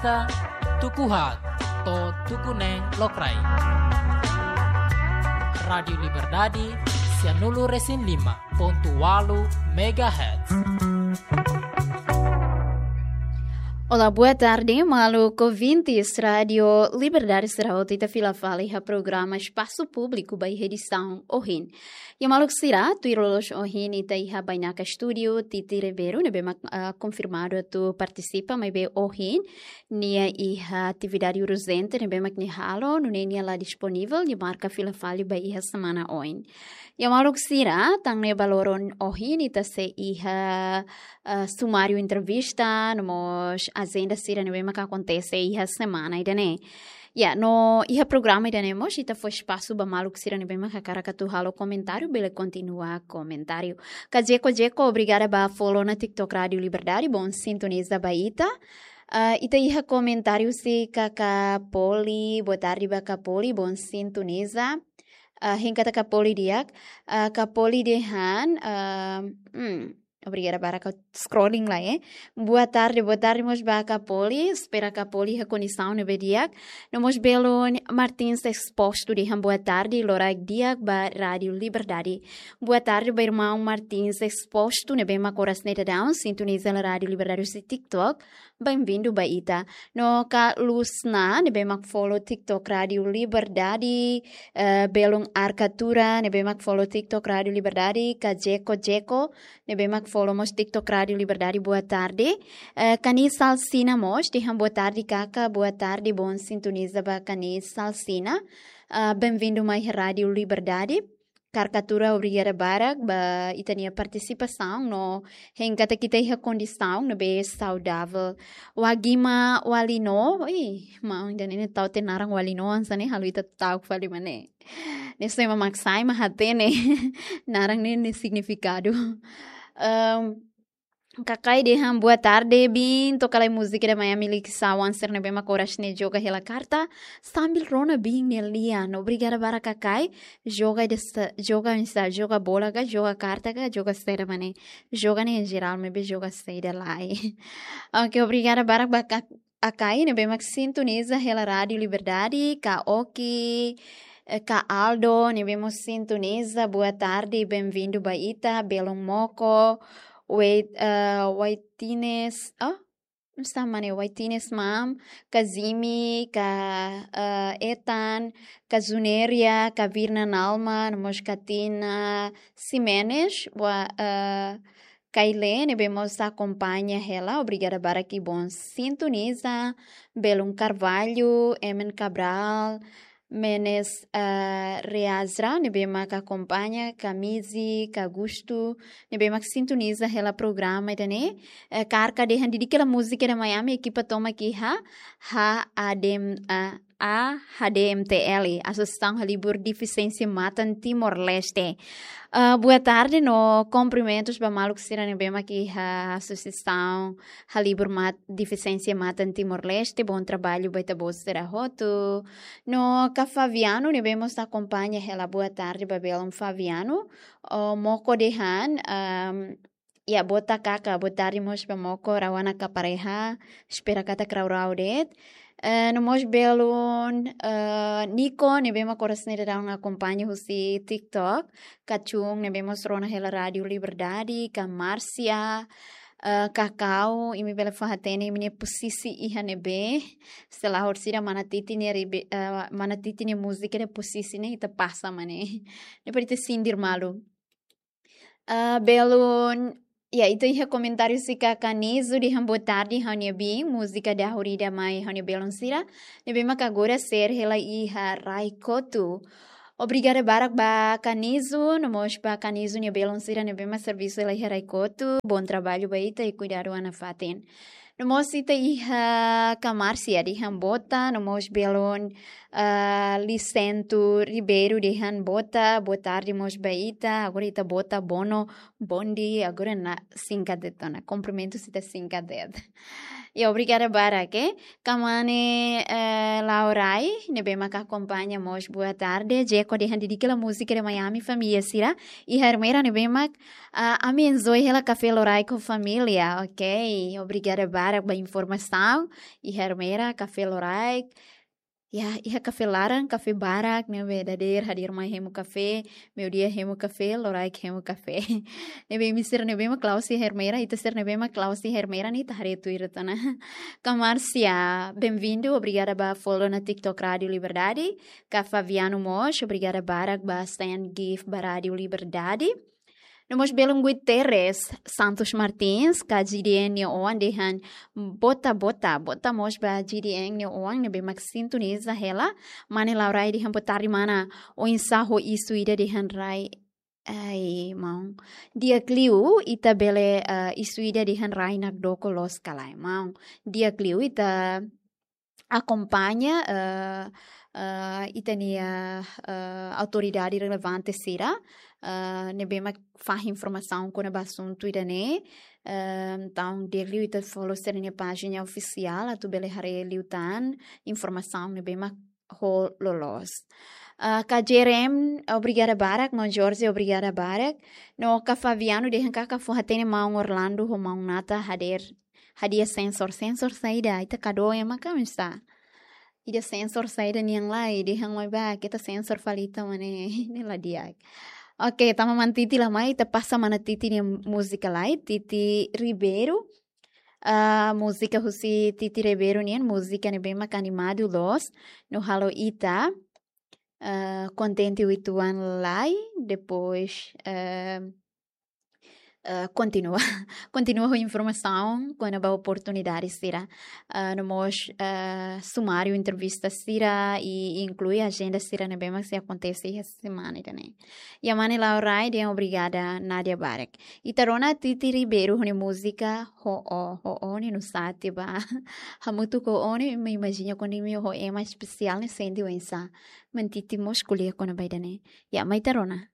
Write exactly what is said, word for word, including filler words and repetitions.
Tuku haat to'o tuku neen lokraik. Rádiu Liberdade, sianulu resin lima pontu ualu megahertz. Olá, boa tarde, maluk ouvintes Rádiu Liberdade sira hotu. Ita fila fali iha programa Espasu Públiku ba iha edisaun ohin. Iha maluk sira, tuir loloos ohin ita iha bainaka estúdiu Titi Ribeiro, ne'ebé mak, ah, konfirmadu atu partisipa, maibé ohin nia iha atividade urjente ne'ebé mak nia halo, nune'e nia la disponivel, nia marka fila fali ba iha semana oin. Iha maluk sira, tan ne'e ba loron ohin ita sei iha, ah, sumáriu entrevista, no mós ajenda sira ne'ebé mak akontese iha semana ida-ne'e. Ya, no iha programa ida-ne'e mós ita fó espasu ba maluk sira ne'ebé mak hakarak atu halo komentáriu, bele kontinua komentáriu. Kajeko Jeko, obrigada ba follow ona TikTok Rádiu Liberdade, bom sintoniza ba ita. Ah, ita iha komentáriu husi Kaka Poli, boa tarde ba Kaka Poli, bom sintoniza. Ah, hein katak Kaka Poli di'ak, ah, Kaka Poli dehan, ah, hmm, obrigada barak, scrolling lai, eh. Boa tarde, boa tarde mós ba Kaka Poli, espera Kaka Poli iha kondisaun ne'ebé di'ak. No mós belun Martins Exposto dehan boa tarde, loraik di'ak ba Rádiu Liberdade. Boa tarde ba irmaun Martins Exposto, ne'ebé mak oras ne'e daudaun sintoniza hela Rádiu Liberdade husi TikTok. Bem-vindo ba ita. No Kaka Lusna, ne'ebé mak follow TikTok Rádiu Liberdade, eh, belun Arkatura, ne'ebé mak follow TikTok Rádiu Liberdade, Kaka Jeko Jeko, ne'ebé mak follow mós TikTok Rádiu Liberdade, boa tarde. Eh, Kani Salsina mós, dehan boa tarde, Kaka, boa tarde, bom sintoniza ba Kani Salsina. Ah, bem-vindo mai Rádiu Liberdade. Kaka Arkatura, obrigada barak ba ita-nia partisipasaun, no hein katak ita iha kondisaun ne'ebé saudavel. Wagima Walino, ih, maun ida-ne'e tau tiha naran Walino, hanesan ne'e halo ita ta'uk fali mak ne'e. Ne'e só ema mak sai mak hatene naran ne'e, nia signifikadu. Ehm, Kakai dehan boa tarde, biin, toka lai múzika ida Miami Lixawan sira ne'ebé mak oras ne'e joga hela karta sambil rona biin nia lian. Obrigada barak Kakai, joga ida sa-, joga oinsá, joga bola ka, joga karta ka, joga saida mak ne'e. Joga ne'e em geral, maibé joga saida lai. Ok, obrigada barak ba Kak-, Akai ne'ebé mak sintoniza hela Rádiu Liberdade, Kaka Oki, eh, Kaka Aldo, ne'ebé mós sintoniza, boa tarde, bem-vindo ba ita, belun Moko, Wait, eh, Waitines, oh, oinsá mak ne'e, Waitines Mam, Kaka Zimi, Kaka, eh, Ethan, Kaka Zuneria, Kaka Virna Nalma, no mós Kaka Tina Ximenes, wa, eh, Kaile, ne'ebé mós akompaña hela, obrigada barak i bom sintoniza, belun Carvalho, Emen Cabral, Menes, eh, Reazra, ne'ebé mak akompaña, Kamizi, Kaka Gusto, ne'ebé mak sintoniza hela programa ida-ne'e, eh, Kaka dehan didik hela múzika ida Miami, ekipa tomak iha, ha, adem, ah, A H D M T L, Asosiasaun Halibur Defisiénsia Matan Timor-Leste. Ah, boa tarde, no kumprimentus ba maluk sira ne'ebé mak iha Asosiasaun Halibur Mat-, Defisiénsia Matan Timor-Leste, bom trabalho ba ita-boot sira hotu. No Kaka Fabiano, ne'ebé mós akompaña hela, boa tarde ba belun Fabiano. Oh, Moko dehan, ehm, ya, botak Kaka, boa tarde mós ba Moko, rau ona ka pareha, espera katak rau-rau de'it. Eh, no mós belun, eh, Nico, ne'ebé mak oras ne'e daudaun akompaña husi TikTok, Kaka Chung, ne'ebé mós rona hela Rádiu Liberdade, Kaka Márcia, eh, Kakau, imi bele fó-hatene imi-nia posisi iha ne'ebé, se la horisehik mana Titi nia ribe-, eh, mana Titi nia múzika ida posisi ne'e, ita pasa mak ne'e. Ne'e para ita sindir malu. Ah, belun, ya, ita iha komentáriu husi Kaka Nizu dehan boa tarde, ha'u-nia biin, múzika dahulur ida mai ha'u-nia belun sira ne'ebé mak agora share hela iha Raikotu. Obrigada barak ba Kaka Nizu, no mós ba Kaka Nizu nia belun sira ne'ebé mak servisu hela iha Raikotu, bom trabalho ba ita i kuidadu ona fatin. No mós ita iha Kaka Márcia dehan botak, no mós belun, ah, Lisento Ribeiro dehan botak, boa tarde mós ba ita, agora ita botak, bono, bonde, agora ne'e singkat de'it ona, kumprimentus ita singkat de'it. Ya, obrigada barak, eh. Kamane, eh, Laurai, ne'ebé mak akompaña mós, boa tarde. Jeko dehan dedika hela múzika de Miami, família sira. Iha Ermera ne'ebé mak, ah, ami enjoy hela Café Loraik ho família. Ok, obrigada barak ba informasaun. Iha Ermera, Café Loraik. Ya, iha kafé laran, kafé barak, ne'ebé dadeer hadeer mai hemu kafé, meiudia hemu kafé, loraik hemu kafé. Ne'ebé imi sira ne'ebé mak la'ós iha Ermera, ita sira ne'ebé mak la'ós iha Ermera ne'e ita haree tuir tiha ona. Ka Márcia, bem-vindo, obrigada ba follow ona TikTok Rádio Liberdade. Ka Fabiano mós, obrigada barak ba send gift ba Rádio Liberdade. No mós belun Guterres Santos Martins, ka G D N nia oan dehan boa tarde, boa tarde, boa tarde mós ba G D N nia oan, ne'ebé mak sintoniza hela. Mane Laurai dehan boa tarde mana, oinsá ho isu ida dehan rai. Ai, maun. Di'ak liu, ita bele, eh, isu ida dehan rai nakdoko loos ka lae, maun. Di'ak liu, ita akompaña, eh, eh, ita-nia, eh, autoridade relevante sira, eh, ne'ebé mak fahe informasaun kona-ba asuntu ida-ne'e. Eh, entaun, di'ak liu ita follow sira-nia pájina ofisiál, atu bele haree liután informasaun ne'ebé mak ho loloos. Eh, ka Jerem, obrigada barak, maun Jorge, obrigada barak. No ka Fabiano, dehan katak fó hatene maun Orlando ho maun Nata hadeer hadi'a sensor, sensor saida, ita kadu ema ka misa. Ida sensor saida nian lai, dehan mai ba, ita sensor fali ita mane, ne'e la di'ak. Ok, tama mantiti la mai, ita pasa mana Titi nia múzika lai, Titi Ribeiro. Ah, múzika husi Titi Ribeiro nian, múzika ne'ebé mak animadu loos, no halo ita, ah, kontente uitoan lai, depois, eh, eh, kontinua. Kontinua ho informasaun kona-ba oportunidade sira. Eh, no mós, eh, sumáriu entrevista sira i inklui ajenda sira ne'ebé mak sei akontese iha semana ida-ne'e. Ya mane Laurai dehan obrigada, Nadia barak. Ita rona Titi Ribeiro ho nia múzika Ho Ó, Ho Ó ne'e nusá tiha ba. Hamutuk ho ó ne'e, imi imajina kuandu imi ho ema espesiál ne'e sente oinsá. Mantiti mós ko'alia kona-ba ida-ne'e. Ya, mai ita rona.